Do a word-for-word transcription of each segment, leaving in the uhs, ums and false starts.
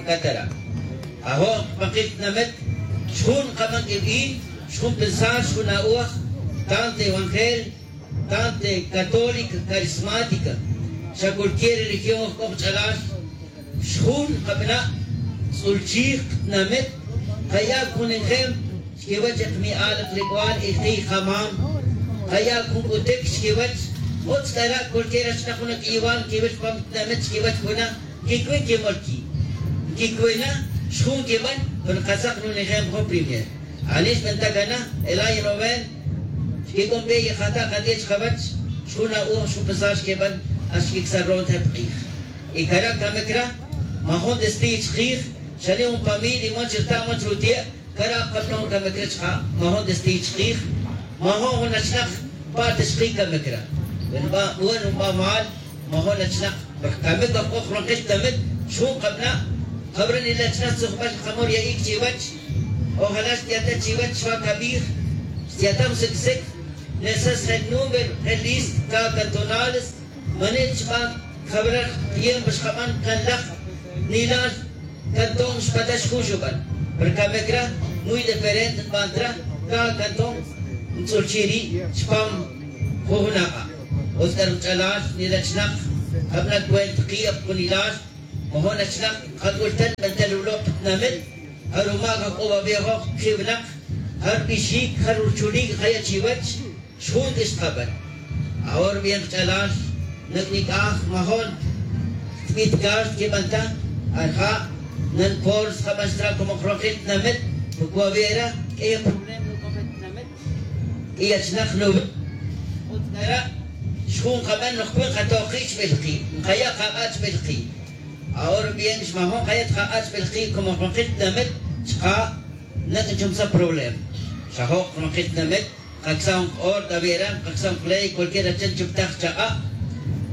Catara'. Ajo' pakil tinamet xjun kaban k'ib'in, xjun pensar, xjun a'oj, tanto evangel, tanto católica, carismática, xa cualquier religión oj k'o qach'alal. Xjun kabana' tz'ulchij qatinamet, kaya' jun ejemplo chikiwech e kami'al, e kalib'al, e katiy kamam. Kaya' jun k'utic chikiwech. Utz k'ara' cualquier achnaj jun ak'iyibal nkiwil chupam tinamet chikiwech puna, nkicui nkimol ki', nkicui na xjun nkiban. Pero katzak jun ejemplo jun primer. Ani xbenta cana el año noveno, xquic'un bi y kata' kati'e chkawech. Xjun a'oj, xjun pensar xquiban, hasta xquic'saj ronojel pa k'ij. Y cara' camic ra majun testigo chkij. Xani jun familia man chirta' man chiruti'e', cara' kaplon camic ra chka' majun testigo chkij. Majun jun achnak pa' ta chkij camic ra. Bueno, ba mal majun achnak. Porque camic oj k'o jun kil camic xjun kabana'. Jawra nila' chnak tzujbal kamor ya'ic chiwech. Ojalá xtiyata' chiwech xwa cabij, xtiyata' jun sic sic. Nesas je' número, je' lista cada cantonales. Manil chban jawra tiempo xkaban can laj nilal cantón xpatax jun xuban. Pero camic ra muy diferente nbanta ra. Cada cantón ntz'ulchi' ri' chupam jun jun aka'. Utz k'a ri kach'alal nila' achnak, kabana' cuenta ki'ab jun nilal. Majun achnak kac'ultal nbantal rulo' pa tinamit. Ja rumac ajk'o wawejoj kiwinak, ja rubixic, ja ruchulic kaya' chiwech. Xjun ti' xtkaban. Ahora bien kach'alal, nak' nic'aj majun tbitcal xtquiban ta. Arja' nan por xtkaban xtra como ronojel tinamit. Porque wawera q'uiy problema ruc'ojel tinamit. Q'uiy achnak nuwi'. Utz kara' xjun kaban nojcui nkatoj ki' chbil ki', nkaya' kak'a' chbil ki'. Ahora bien xmajun kaya' ta kak'a' chbil ki' como ronojel tinamit. Chka' nak' nchumsaj problema. Xa jo' ronojel tinamit. Kacsaj jun k-orden awera, kacsaj jun k-ley, cualquier achin chuptaj chak'a'.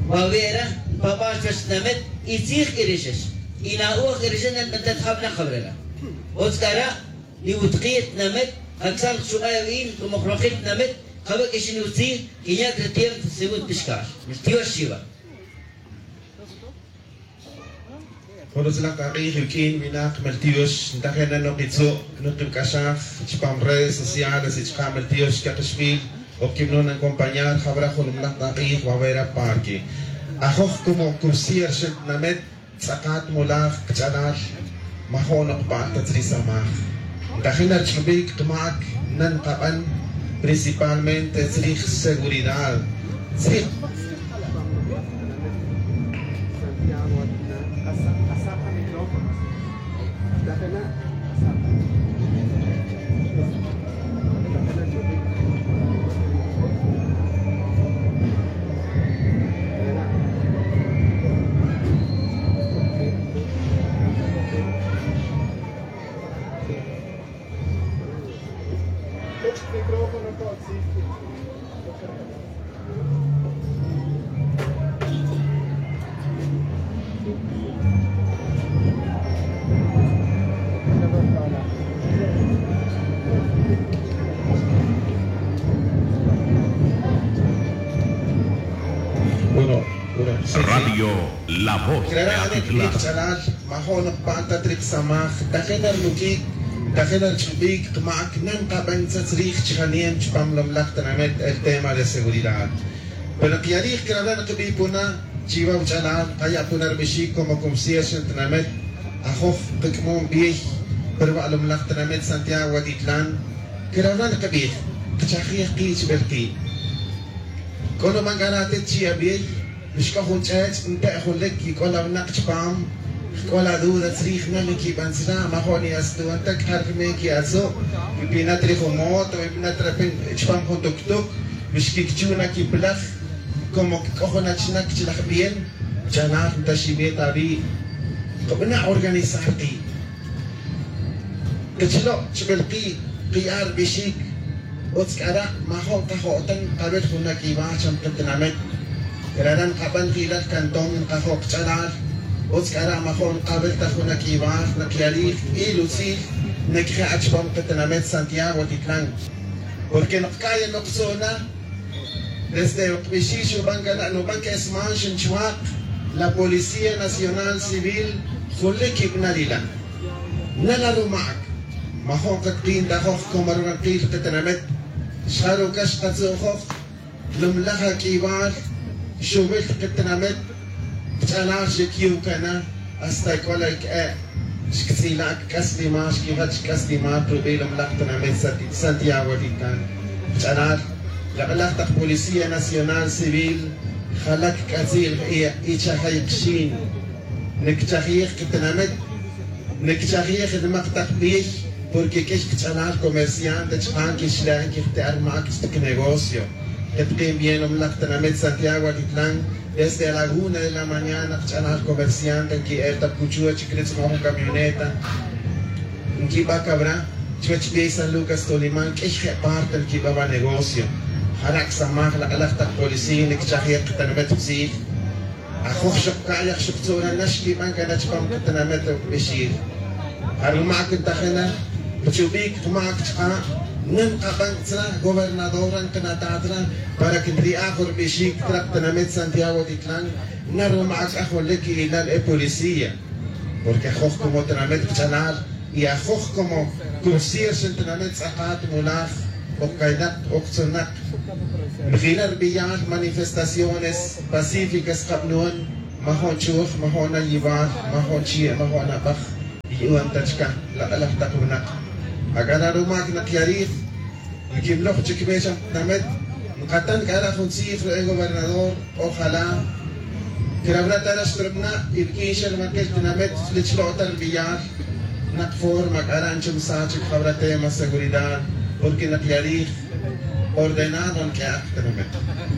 Wawera npaba' chuwech tinamit. Y tzij k'i rixix, y na'oj k'i rixix, nanbantaj jawnak jawrela. Utz kara' niwutki' tinamit. Kacsaj jun chuk'a' awin como ronojel tinamit. Kawe' k'ixin utzij, quinya' c'a tiempo según pixcal. Tiox chiwa. Jun utzilaj t'ak'ij iwq'uin winak mel tiox ntajin na nukitzu' nukibc'axaj chupam redes sociales y chaka' mel tiox cakixbil. Oc quibnun acompañar jawra jun laj t'ak'ij wawera parque. Ajoj como cursier xen tinamit. Tz'akat mulaj kach'alal. Majo'n nokpa' ta tzri samaj. Ntajin na rich'ubic kamac nan kaban principalmente tzrij seguridad. Tzrij Bueno, bueno, sí, sí. Radio La Voz de Atitlán. Majo'n nokpa' ta trik samaj, tajin na rnuquic, tajin na rich'ubic kamac nan kaban tzat tzrij chjanem chupam lomlaj tinamit el tema de seguridad. Pero kiyalij crabra' nkabi puna chiwa wach'alal, kaya' puna ribixic como comisión tinamit. Ajoj kac'amon biey pa ruwa' lomlaj tinamit Santiago Atitlán. Crabra' nkabij, kachajij ki' chibel ki'. C'o nuban c'a ra atit chi abiey. Xc'o jun ch'ech' nte' jun lic y c'o la winak chupam. C'o la duda tzrij na niquiban tzra, majo'n ni atztu'un ta c'a rime quiatzu'. Npina' tri jun moto, npina' tri chupam jun tuctuc. Xquicuchu' na quipelaj. Como c'o jun achnak chi laj bien, chanaj nta xibe ta awi'. Kabana' organizar ki'. Kachilo' chibel ki', kiya' ribixic. Utz c'a ra' majo'n kajo' ta nkawil jun na c'iwaj cham katinamit. Crara' nkaban ki'ilal cantón nkajo' kach'alal. Utz c'a ra' majo'n nkawil ta jun na c'iwaj, na kiyalij il utzil na cje' chupam katinamit Santiago Atitlán. Porque nokca'ya noktzona. Desde ok bixi' xuban cana' nuban que esman xinchwak la Policía Nacional Civil. Jun li quibana ri la' nala' ruma'c. Majo'n katk'in ta ajoj como rubankil katinamit. Xjaruca xkatzu'joj. Lumlaj ac'ibal xubil katinamit. Kach'alal xecyucana hasta c'o la que'e' xctz'ila' c'aslimal xquijach c'aslimal rubi' lumlaj tinamit Santiago Atitlan. Kach'alal lak'laj tak policía nacional civil jalac c'atzi'l. Ichajay kxin. Nicchajij katinamit. Nicchajij nimak tak biy. Porque q'uiy kach'alal comerciante chka' quixle'en quijti'an mac chtak negocio. Ketkin bien lumlaj tinamit Santiago Atitlan. Desde a la una de la mañana kach'alal comerciante nqui'el ta cuchuch quiritz' jun camioneta. Nquiba cabra chuwech biy San Lucas Toliman q'uiy je' parte nquiba va negocio. Jara' csamaj lak'laj tak policía nicchajij katinamit tzij. Ajoj xok ca'yaj xok tzora nax quiban cana chupam katinamit rubixil. Jaruma' cntajena. Chubic kmac chka' nan kaban tzra gobernador ran kanatat ran para que nri'aj rubixic tra katinamit Santiago Atitlan. Naruma' c'a junlic ilal e policía. Porque ajoj como tinamit kach'alal y ajoj como cubsir xan tinamit tz'akat mulaj. Ok caynak ok tzunak. Nijila' rbiyal manifestaciones pacíficas kabanon. Majo'n chuj majo'n ayibal majo'n chie' majo'n abaj. Yu'un ta chka' lak'laj tak winak. Ac'ara' rumac nak ya rij. Nquimloj chic be xa tinamit. Nkatan c'ara' jun tzij re gobernador. Ojalá crabra ta rax trubna' y riq'uin xa rumaquel tinamit li chlo' ta rubiyal. Nak forma c'ara' nchumsa chic jabra tema seguridad. Porque nak ya rij ordenado nq'ue'ak tinamit.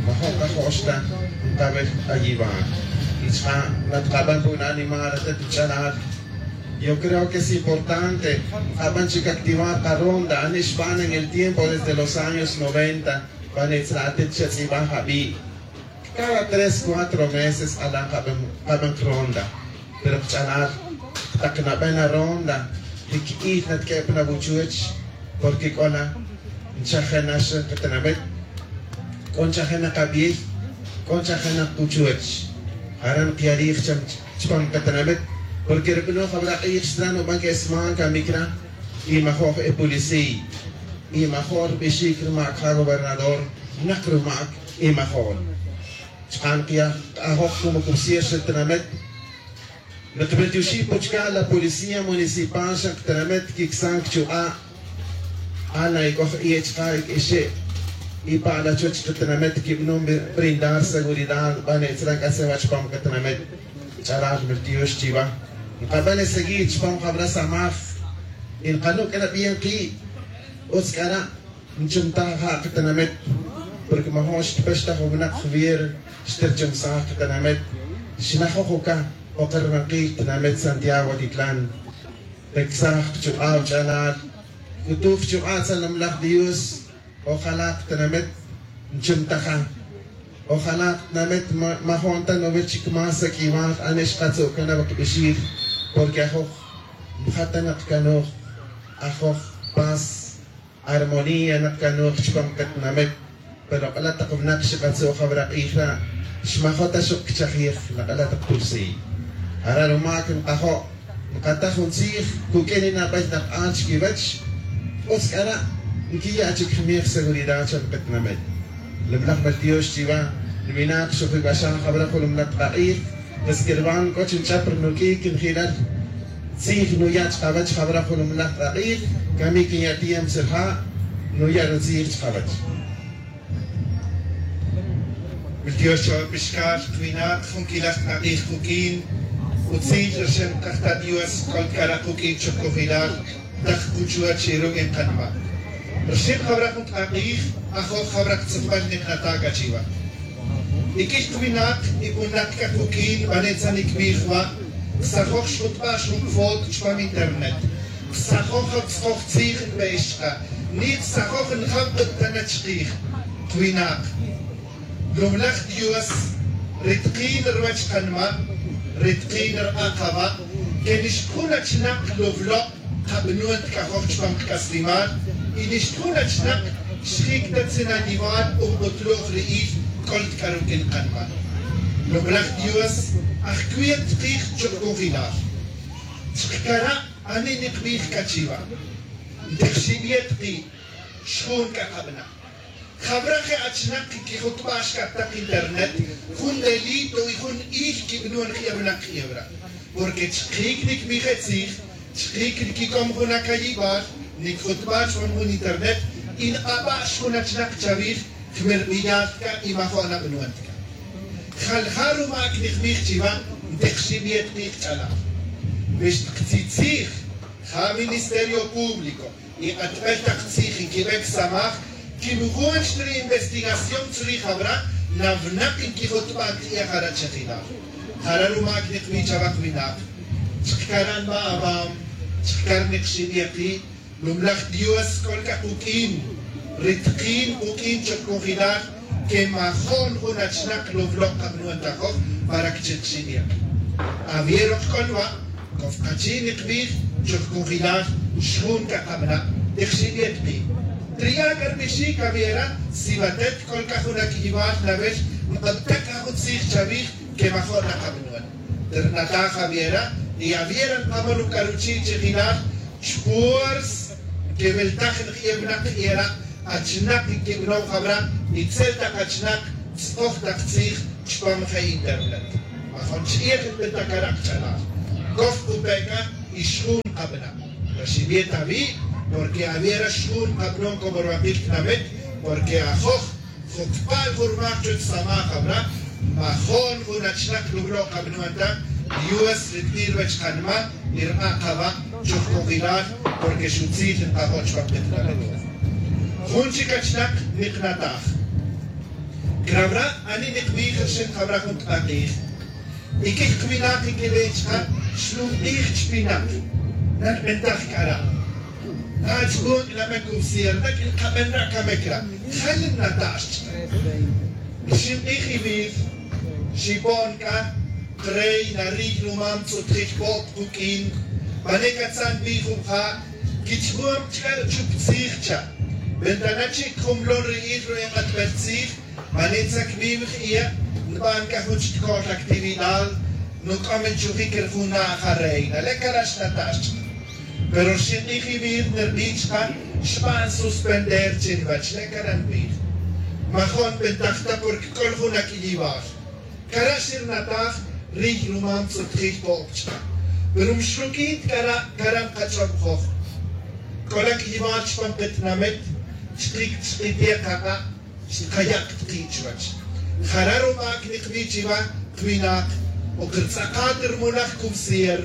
Majo' kajo'x ta nkabel ayibal. Y chka' natkaban ru'un animal atet ch'alal. Yo creo que es importante. Kaban chic activar karonda ani xban en el tiempo desde los años noventa. Bane' tzra' atit xatz'iba' jabi'. Cada tres cuatro meses alan kaban kaban ronda. Pero kach'alal tak naben aronda. Li qui'il natq'ue' pan awuchuch. Porque c'o la nchajena xan katinamit. C'o nchajena kabiy. C'o nchajena kuchuch. Jara' nkiya' rij cham chupam katinamit. Porque rubanon jabra' k'ij xtran uban q'uesman camic ra. Y majo'j e policía. Y majo'j rubixic rumac ja gobernador. Nak rumac y majo'j. Chka' nkiya' ajoj como cubsir xa tinamit. Nkibiltioxij puchca la policía municipal xa tinamit quicsan cachuk'a'. Ala ic'oj iye' chka' ic'exe'. Y pa' la chuwech katinamit quibanon brindar seguridad bane' tzra' c'ase' wa chupam katinamit. Ch'alal miltiox chiwa. Nkaban e seguir chupam jabra samaj. Y nkanuc' c'a na bien ki'. Utz c'ara' nchumtaj ja katinamit. Porque majo'n xtpextaj winak javier xtirchumsaj katinamit. Xnajoj uca. Oker rubankil tinamit santiago atitlan. Pecsaj kachuk'a' wach'alal. C'utuj chuk'a' tzalomlaj dios. Ojalá katinamit nchumtaja. Ojalá katinamit majo'n ta nubil chic más saq'uimal ani xkatzu' cana wa kbixij. Porque ajoj nja ta nak canuj. Ajoj paz armonía nak canuj chupam katinamit. Pero k'ala' tak winak xikatzu' jawra' k'ij ra' xmajo' ta xok cachajij nak'ala' tak pulsiy. Jara' rumac nkajo' nkataj jun tzij cuq'uin ninabay nak'al chiquiwech. Utz c'ara' nquiya' chic jmij seguridad cho nkatinamit. Lumlaj meltiox chiwa. Niwinak xojib'axaj jawra' jun lumlaj tak'ij. Pues quirban c'o chi nch'ap rinuq'uic nji'lal. Tzij nuya' chkawech jawra' jun lumlaj tak'ij. Camic nya' tiempo tzirja'. Nuya' rutzij chkawech. Wiltiox chawapixcal winak jun quilaj tak'ij kuq'uin. Utzil rixin kajta' dios c'ol c'ara' kuq'uin chocojilal. Tak kuchuwach y ruq'uin kanma'. Rixin jawra' jun tak'ij. Ajoj jawra' ktzupbal nik nata' c'a chiwa. Iq'uiy kwinak y winak c'a cuq'uin bane' tzanic bij wa'. Tzajoj xjutba' xjun foto chupam internet. Tzajoj jawtz'oj tzij nbe'ex chka'. Ni tzajoj njab k'ut ta na chkij. Kwinak. Lumlaj dios. Ri tkin ruwech kanma'. Ri tkin rba' kaba'. Que nixkun achnak luvlo'. Kabanon tk'ajoj chupam kac'aslimal. Y nixkun achnak xjic ta tzinayiwal umbutluj ri'il. C'ol tk'aruq'uin kanma'. Lumlaj dios. Ajcui' tkij chuk'ujilal. Chkcara' ani nikbij c'a chiva, ntijxibiet ki', xjun c'a kabana'. Jawra je' achinak quijutba' xc'at tak internet jun delito y jun ij quibanon je' winak je' wara'. Porque chkic nicbij e tzij, chkic niquic'om jun acayibal, nicjutba' chupan jun internet y nk'aba' xjun achinak chawij, jmir biyal c'a y majo' nabanon c'a. Jalja' rumac nikbij chiwa, ntijxibiet ki' kach'alal. Wi xtktzij tzij ja ministerio público y k'atbel tak tzij nquibe csamaj, quimujun chri investigación chri jawra, nawnak nquijutba' ki' jara' chijilal. Jara' rumac nikbij chawa winak, chkcara' nba' awam, chkcara' nikxibiet ki', numlaj Dios c'ol c'a kuq'uin, ri tkin kuq'uin chuk congelar, que majo'n jun achinak lowlo' kabanon ta joj para que chikxibiet. Awier ok c'o nwa', c'o kachi' nikbij chuk congelar, xjun c'a kabana', tikxibiet ki'. Triya' c'a rbixic awiera, si watet c'ol c'a jun ac'iyibal nawel, nk'abta' c'a jun tzij chawij, que majo'n nakabanon. Trnataj awiera, y awiera nkamon ruc'aruchi' chijilal, chpuers, que weltaj nki'e winak era, achinak nquibanon jawra, itzel tak achinak, tz'oj tak tzij, chupam je' internet. Majo'n ch'ij nbenta cara' kach'alal. Coj kupe' c'a, y xjun kabana'. Raxibiet awi', porque awiera xjun kabanon como rwakil tinamit, porque ajoj, jocpal jun rmaj chuwech samaj jawra, majo'n jun achinak lowlo' kabanon ta, Dios ri tbij ruwech kanma, y rba' kawa', choj congelar, porque xutzil nkajo' chupam ketinamit. Jun chic achinak niknataj. Crawra, ani nikbij rxin jawra jun tk'ak'ij. Y quij kwinak nquibe chka, xlum k'ij chpinak. Nanbentaj c'a ra'. Achcun c'a name cubsier, na c'a nkaben ra' camic ra'. Jal nnatax chka. Rxin k'ij iwir, xipon c'a, reina riy numam tz'utjil po'p kuq'uin, pane catzan bi jun ja', quich'bom chca chup tzij cha. Ventana chi' cjumlon ri il ru enk'atbel tzij, man nitzac bi wi je' nban c'a jun chtikol actividad, nuc'om nchujic ri jun na' ja reina. Le' cara' xnatax chka. Pero rxin k'ij iwir nirbi chka, xban suspender chi niwech. Le' cara' nbij. Majo'n nbentaj ta porque c'ol jun ac'iyibal. Cara' xirnataj riy numam tz'utjil po'p chka. Pero mxruquin ta cara', cara' nkach'ob joj. C'ol ac'iyibal chupam ketinamit, chkic chkitiek kak'a', xtkaya' kaki' chuwech. Jara' rumac nikbi chiwa, kwinak, o kirtz'akat ri mulaj cubsier,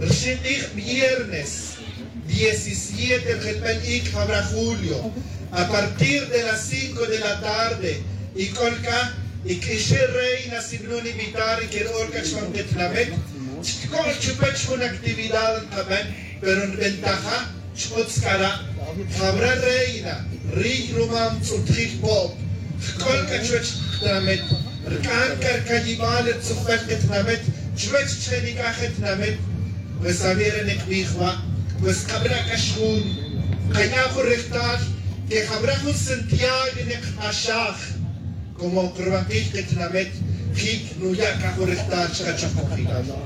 rxin k'ij viernes, diecisiete ri jelbel ic jawra julio, a partir de las cinco de la tarde, y c'ol c'a, y q'uixi' reina sibanon invitar y quero'ol c'a chupam ketinamit, chticol chupech jun actividad nkaben, pero nbentaja, Ch'utz c'a ra', jawra reina, riy numam tz'utjil po'p, jc'ol c'a chuwech ketinamit, rc'am c'a rcayibal ri tzujbel ketinamit, chuwech chje' nic'aj ketinamit, pues awiera nikbij wa', pues kabana' c'a xjun, kaya' jun rejtal, que jawra jun Santiago nikq'axaj, como ok ruwakil ketinamit, jic nuya' c'a jun rejtal chka choj cojilal.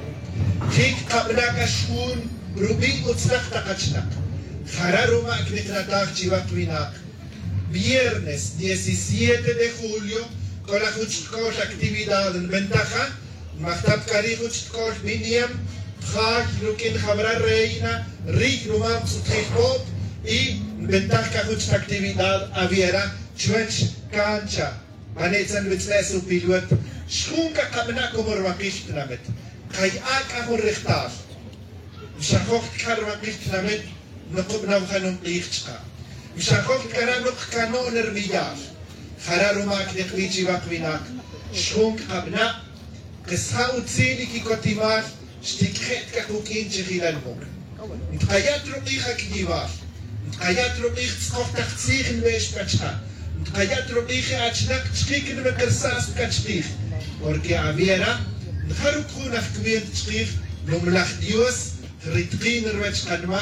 Jic kabana' c'a xjun, rubi' utzlaj tak achinak. Jara' rumac niknataj chiwa winak. Viernes diecisiete de julio, c'o la jun chtikol actividad nbentaja, nmajtap c'a ri' jun chtikol biniam, jay ruq'uin jawra reina, riy numam tz'utjil po'p, y nbentaj c'a jun chik actividad awiera, chuwech cancha. Mane' tzan witz'e' supilwet, xjun c'a kabana' como ruwakil tinamit. Kaya'a c'a jun rejtal. Mxajoj ta c'a ruwakil tinamit, nukubana' jun jun k'ij chka. Mxajoj ta c'a ra' nukcano'n ri miyal. Jara' rumac nikbi chiwa winak. Xjun c'a kabana', kis ja utzil y quicotimal, xtiq'uije' ta c'a kuq'uin chijilal muk. Ntkaya' ta ruk'ij ac'iyibal. Ntkaya' ta ruk'ij tz'oj tak tzij nbe'ex pa chka'. Ntkaya' ta ruk'ij je' achinak chkic nwikirsaj pa chkij. Porque awiera, nja rucjun aj cuenta chkij, numlaj Dios, ritkin ruwech kanma,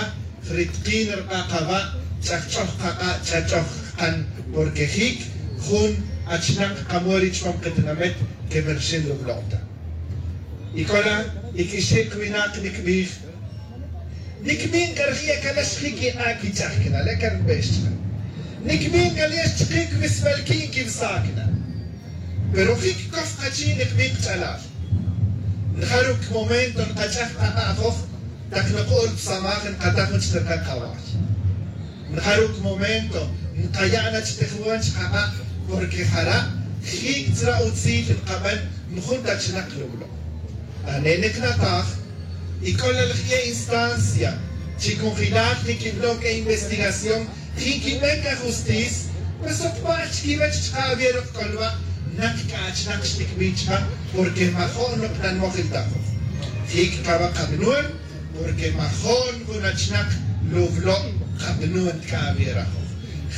ritkin rk'a' kawa', ch'ajch'oj kak'a', ch'ajch'oj kan, porque jic jun achinak kamori chupam ketinamit, que merxin rublo' ta. Y c'o la, y q'uixi' winak nicbij, Nicmin c'a rije' c'a la xjic ink'a' quich'aj cana la c'a nbex chka. Nicmin c'a la xchikin quiwesbal qui' nquiwesaj cana. Pero jic coj kachi' nicmin kach'alal. Njaru' momento nkach'aj kaka'joj tak nuk'ul pa samaj nkata' jun chik raka kaway. Njaru' momento nkaya' na chitijwan chkaka' porque jara' jic tzra' utzil nkaben. Njun ta chinak lublo'. Ane' niknataj y c'o la laj ye' instancia chi cunjelal niquiblo' c'a investigación. Jin quiben c'a justis. Pues oc pa'l chiquiwech chka' avier oc c'olba' nak c'a achinak xticbij chka porque majo'n oc nanmojil ta ajoj. Jic caba kabnon porque majo'n jun achinak lublo' kabnon c'a avier ajoj.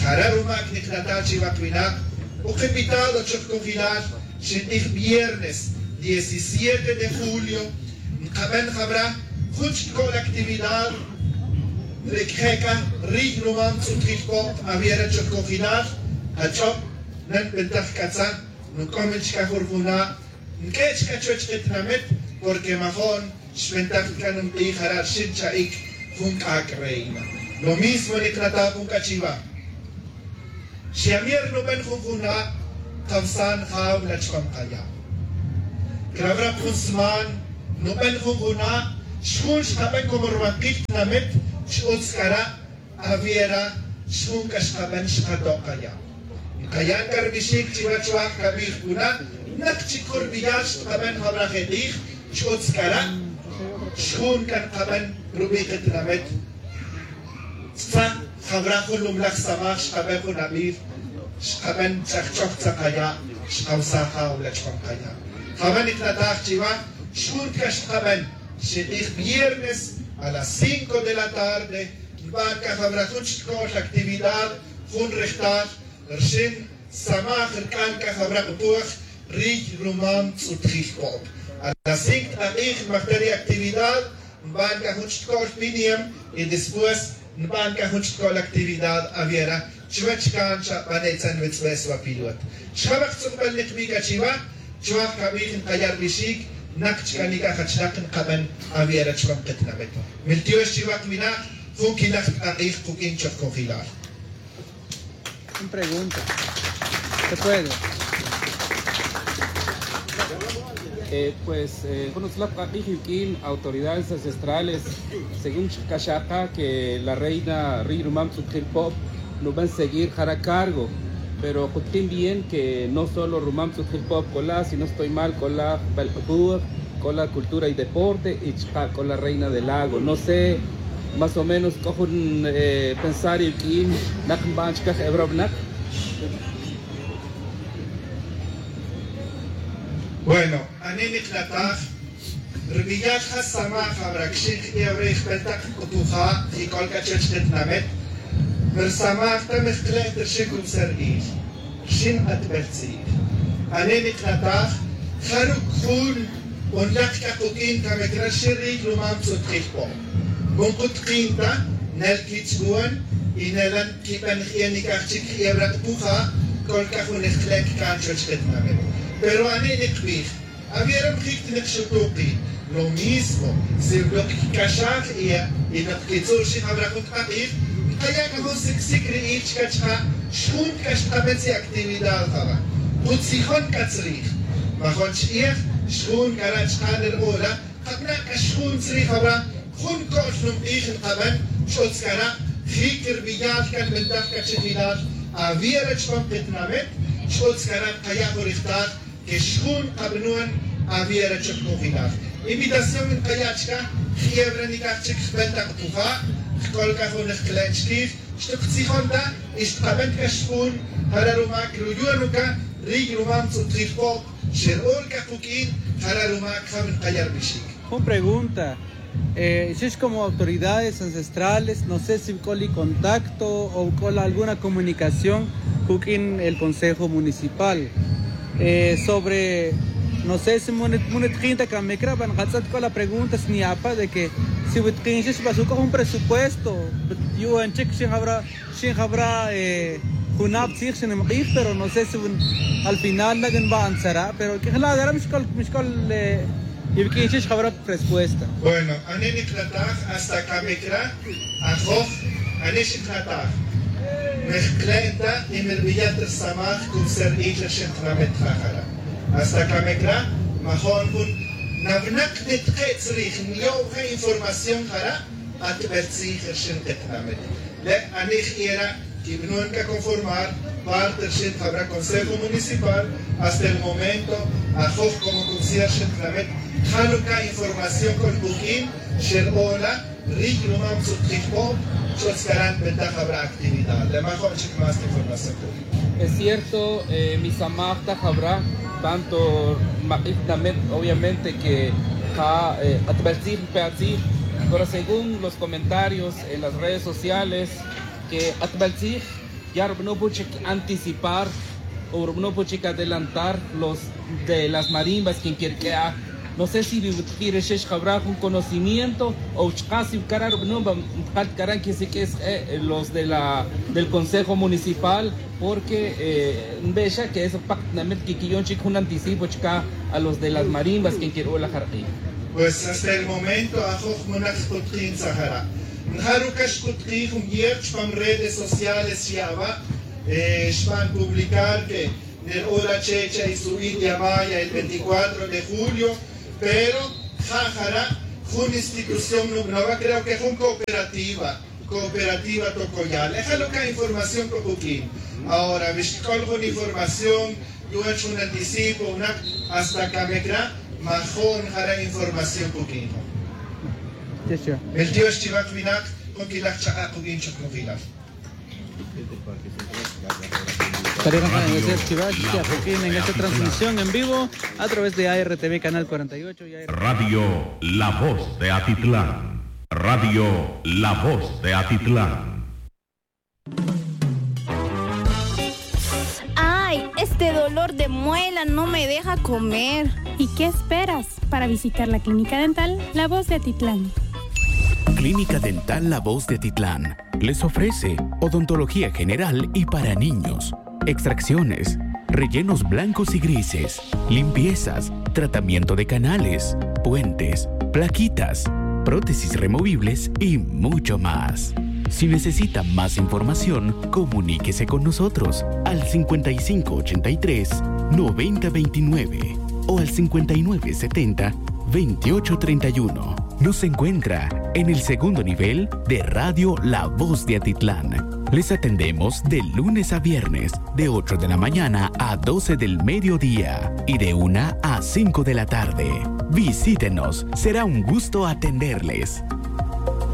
Jara' rumac niknataj chiwa kwinak. Oc invitado chok cunjelal. Xintij viernes diecisiete de julio nkaben jabra jun chik c'o la actividad. Re' cje' c'a riy numam tz'utjil pop aviera chok cojilal. Ach'ob nanbentaj c'atza nuc'omil chca jun rujuna'. Nq'ue' chca chuwech ketinamit porque majo'n xbentaj c'a nunk'ij jara' rxin cha'ic jun c'ac' reina. Lo mismo niknataj jun c'a chiwa. Xyamier nuben jun juna'. Kawsan jaw la chpam kaya'. Crawra jun sman nuben jun juna'. Xjun xkaben como rubankil tinamit. X'utz c'ara' aviera xjun c'a xkaben xkato' kaya'. Nkaya' c'a rubixic chiwech waj cabij cuna'. Nak chic jun rubiyal xkaben jawra je' k'ij. X'utz c'ara' xjun c'a nkaben rubi' katinamit. Tzaj jawra jun lumlaj samaj xkaben jun abij. Xkaben ch'ajch'oj tzakaya' xkawsaj jaw la chpam kaya'. Jawra niknataj chiwa xjun c'a xkaben xik'ij viernes a las cinco de la tarde. Nban c'a jawra jun chik c'o'l actividad jun rejtal rxin samaj rc'an c'a jawra k'upuj. Riy rumam tz'utjil po'p a las cinco tk'ak'ij nbajta ri actividad. Nban c'a jun chik c'o'l piniem y después nban c'a jun chik c'o'l actividad aviera. Chuwech can xa bane' tzan witz'bes wa pilot. Xjawak tz'ukbel nikbi c'a chiwa. Chuwaj cabij nkaya' rubixic. Nak chca nic'aj achinak nkaben aviera chupam ketinamit. Miltiox chiwa kwinak jun quilaj tk'ak'ij kuq'uin chok cojilal. Una pregunta. Se puede. Eh, pues, eh, jun utzlaj k'ak'ij yuq'uin autoridades ancestrales según chkac'axaka que la reina riy rumam tz'utjil po'p nuben seguir jara' cargo. Pero kutkin bien que no solo rumam tz'utjil po'p c'ola sino stoy mal c'ola jbel k'upuj, c'ola cultura y deporte y chka' c'ola reina del lago. No sé más o menos c'o jun pensar yuq'uin nak nban chkaj ebrobnak. Bueno, ani' niknataj. Rubiyal ja samaj jawra cxin jbij awre' jbel tak k'upuja' y c'ol c'a chuwech ketinamit. Mersamaj ta mejkle' ta rxin cubsar il rxin atbel tzij. Ani' niknataj. Jaru' jun unlak c'a kuq'uin camic ra rxin riy rumam tz'utjil po'p. Jun kutkin ta nel quich'uon y nela' nquiben jie' nic'aj chic jie' wra k'upuja'. C'ol c'a jun jkle' ccan chuwech ketinamit. Pero ani' nikbij aviera mjic ta nik xutuki. Lo mismo si wi nok quic'axaj y nok quitzu' rxin jawra jun tk'ak'ij. Nkaya' c'a jun sicsic ri il chca chka' xjun c'a xkaben tzij actividad jawra. Kutzijon c'a tzrij. Majon ch'iej xjun c'a ra' chka' ni rubula'. Kabana' c'a xjun tzrij jawra jun co'l nunk'ij nkaben. X'utz c'a ra' jic rubiyal c'a nbentaj c'a chijilal aviera chupam ketinamit. X'utz c'a ra' nkaya' jun rijtal que xjun kabanon aviera chok cojilal. Invitación nkaya' chka jie' wra nic'aj chic jbel tak k'upuja'. Jc'ol c'a jun jkle' chiquij. Xtuctzijon ta y xtkaben c'a xjun. Jara' rumac ruyon uca riy rumam tz'utjil po'p. Xer'ul c'a kuq'uin. Jara' rumac jaw nkaya' rubixic. Jun pregunta. Eh, xix como autoridades ancestrales no sé si c'o li contacto o c'o la alguna comunicación cuq'uin el consejo municipal. Eh, sobre no sé si munetkin ta camic ra' ban katz'et c'o la pregunta sniapa' de que si witkin xix ba suc'o jun presupuesto yu'un chic xin jawra. Xin jawra junab tzij xin nimk'ij pero no sé si al final la' nban tzara' pero q'uijla' dara' mixc'ol mixc'ol. Y wiq'uin xix jawra respuesta. Bueno, ani niknataj hasta camecra ajoj, ani xiknataj. Mejklen ta y mirbiya' ta rsamaj cómo ser ich'el xintnamet jajara. Hasta camecra majon jun nawnak nitke' tzrij niyo'je información jara. Q'atbel tzij rxin qitnamet le' ani jera' quibnun ca conformar parte rxin jabra consejo municipal. Hasta el momento ajoj como concierge jintnamet jalo ca información col buq'uin xer ola ric ruma mtzutjij po. Chotz caran betaj jabra actividad le' majo' chic más información. Es cierto, mi samaj ta jabra tanto mak'ij tnamet obviamente que ja q'atbel tzij npe atzij. Pero según los comentarios en las redes sociales que q'atbel tzij ya rub'anun pu chic anticipar o rub'anun pu chic adelantar los de las marimbas quien quirq'ue' aj. No sé si wi wutqui' rixix jawra jun conocimiento o chka' si wi cara' rub'anun va npjal cara' quisiq'ue' sk'e' los de la del consejo municipal. Porque nbe'xa que eso pak tinamit quiqui'on chic jun anticipo chca a los de las marimbas quien quir'o' la jarq'ij. Pues hasta el momento ajoj munak xkutkin tzajara'. Njaru' ca xkutkin jun viernes chpam redes sociales xya'ba' xban publicar que ner'o' la checha y su india maya el veinticuatro de julio. Pero ja' jara' jun institución nub'naba' creo que jun cooperativa cooperativa tocoyal e jalo' ca información copuq'uin. Ahora wi xc'ol jun información yu'wech jun anticipo winak hasta camecra majo'n jara' información puq'uin. Meltiox chiwak winak jun quilaj chak'a' kuq'uin chuk nujilal. Para en esta transmisión en vivo a través de A R T V canal cuarenta y ocho y A R T V. Radio La Voz de Atitlán. Radio La Voz de Atitlán. Ay, este dolor de muela no me deja comer. ¿Y qué esperas para visitar la clínica dental La Voz de Atitlán? Clínica Dental La Voz de Atitlán les ofrece odontología general y para niños, extracciones, rellenos blancos y grises, limpiezas, tratamiento de canales, puentes, plaquitas, prótesis removibles y mucho más. Si necesita más información, comuníquese con nosotros al cincuenta y cinco ochenta y tres, noventa veintinueve o al cincuenta y nueve setenta, veintiocho treinta y uno. Nos encuentra en el segundo nivel de Radio La Voz de Atitlán. Les atendemos de lunes a viernes, de ocho de la mañana a doce del mediodía y de una a cinco de la tarde. Visítenos, será un gusto atenderles.